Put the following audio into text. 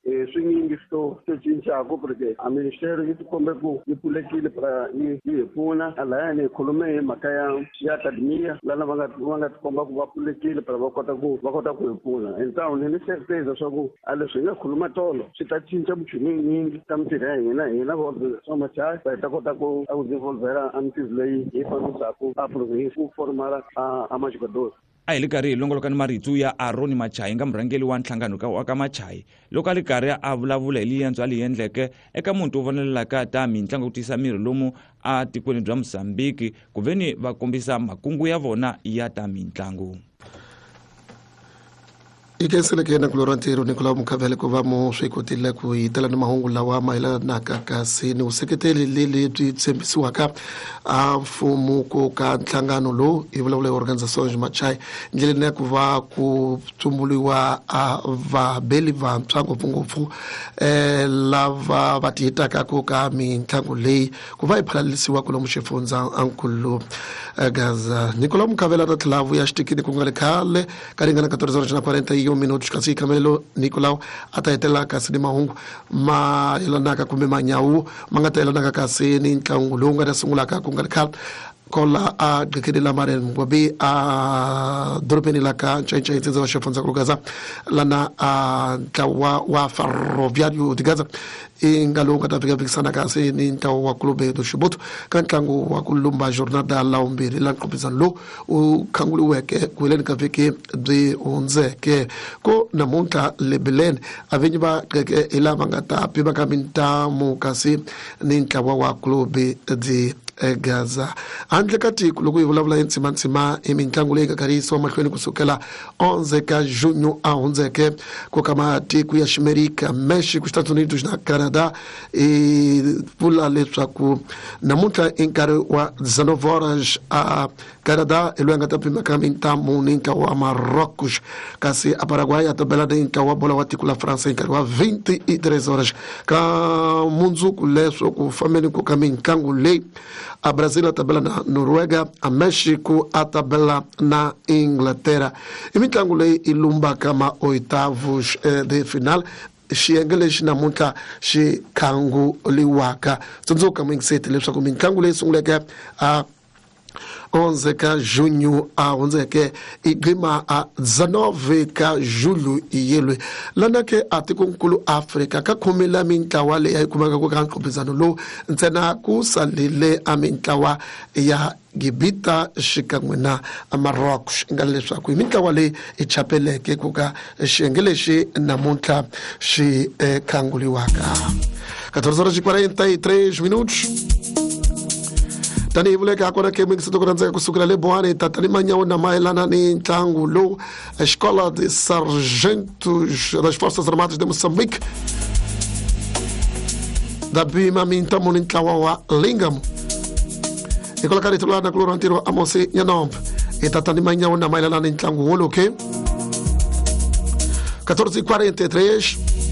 Swinyingi swo swo cincaku porque a ministério yi tikombe ku yi pfulekile pra yi yi hi pfuna. Lahayani hi khulume hi mhaka ya academia lana va nga tikomba ku va pfulekile pra va kota ku hi pfuna. Então ni certeza swa ku a leswi hi nga khuluma tolo swi ta cinca minchumu yinyingi ka mintirho ya hina va Machai, va hi ta kota ku a ku desenvolvera a mintirho leyi hi fambisaku a province ku formala a majogador. A hi le karhi hi longoloka ni marito ya Aroni Machayi, nga murhangeri wa nhlangano wa ka Machayi, loko a ri karhi a vulavula hi liendzo a li endleke eka muti wo vonelelaka ta mitlangu ku tiyisa miri lomu a tikweni bya Mozambiki, ku ve ni va kombisa makungu ya vona ya ta mitlangu. I khenseleke na kulora ntirho Nicolau Mukhavele ku va mu swi kotile ku hi tela ni mahungu lawa mayelanaka kasi ni vuseketeli lebyi tshembisiwaka a mfumo ku ka nhlangano lowu hi vulavula hi Organização Machai, ndleleni ya ku va ku tsumburiwa a vabeli vantshwa, ngopfungopfu lava va tiyitaka ku ka mitlangu leyi ku va yi phalalisiwa kulomu xifundza ankulu Gaza. Nicolau Mukhavele a ta tlhela a vuya xitikini ku nga ri khale ka ringana 14 horas na 41 minutos, kasi khamelo Nicolau a ta hetelela kasi ni mahungu ma yelanaka kumbe manyawu ma nga ta yelanaka kasi ni ntlangu lowu nga ta sungulaka ku nga ri khale kola a gqekeni la Marian Ngwabi a dorobeni la ka Ncayincai, ntsindza wa xifundza ku Gaza, lana a ntlawa wa Ferroviario de Gaza i nga lowu nga ta fika kasi ni ntlawa wa Clube do Chibuto ka ntlangu wa ku lumba jornada la vumbirhi la nqophisano lowu wu khanguriweke ku heleni ka vhiki byi hundzeke. Ko namuntlha le Bilene a vinyi va qeke hi lava nga ta pimaka mintamu kasi ni ntlawa wa Clube de Gaza. Handle ka tiko, loko hi vulavula hi ntsimantsima hi mitlangu leyi nga karhi yisiwa mahlweni kusukela 11 ka junho a hundzeke ku ka matiko ya Ximerika, Mexico, Estados Unidos na Canada, i vula leswaku namuntlha i nkarhi wa 19 horas a Canada hi loyi a nga ta pimaka mintamu ni ntlawa wa Marrocos, kasi a Paraguay a ta bela ni ntlawa wa bola wa tiko la France hi nkarhi wa 23 horas. Ka mundzuku leswo ku fambeni ku ka mitlangu leyi, a Brazil a ta bela na Noruega, a Mexico a ta bela na Inglaterra. I mitlangu leyi i lumbaka ma oitavos de final, xiyenge lexi namuntlha xi khanguliwaka. Tsundzuka, muyingiseti, leswaku mitlangu leyi sunguleke a 11 ka junho a hundzeke i gqima a 19 ka julho yelwe. Lana ke a tikonkulu Afrika, ka khume la mintlawa leyi a yi kumeka ku ka nqophisano lowu, ntsena ku salile a mintlawa ya Gibita xikan'we na Marocos, nga leswaku hi mintlawa leyi i chapeleke ku ka xiyenge lexi namuntlha xi khanguliwaka. 14 horas e 43 minutos. Tanihi vuleke hakona ke, muyingiseti ku rhandzeka, kusukela le Bohani tatani manyawu na mayelana ni ntlangu lowu Escola de Sargentos das Forças Armadas de Moçambique da pima mintamu ni ntlawa wa Lingam. Hikwalaho ka rito lana kulora ntirho Amosi Nyanombe, hi tatani manyawu na mayelana ni ntlangu woloke. 14:43.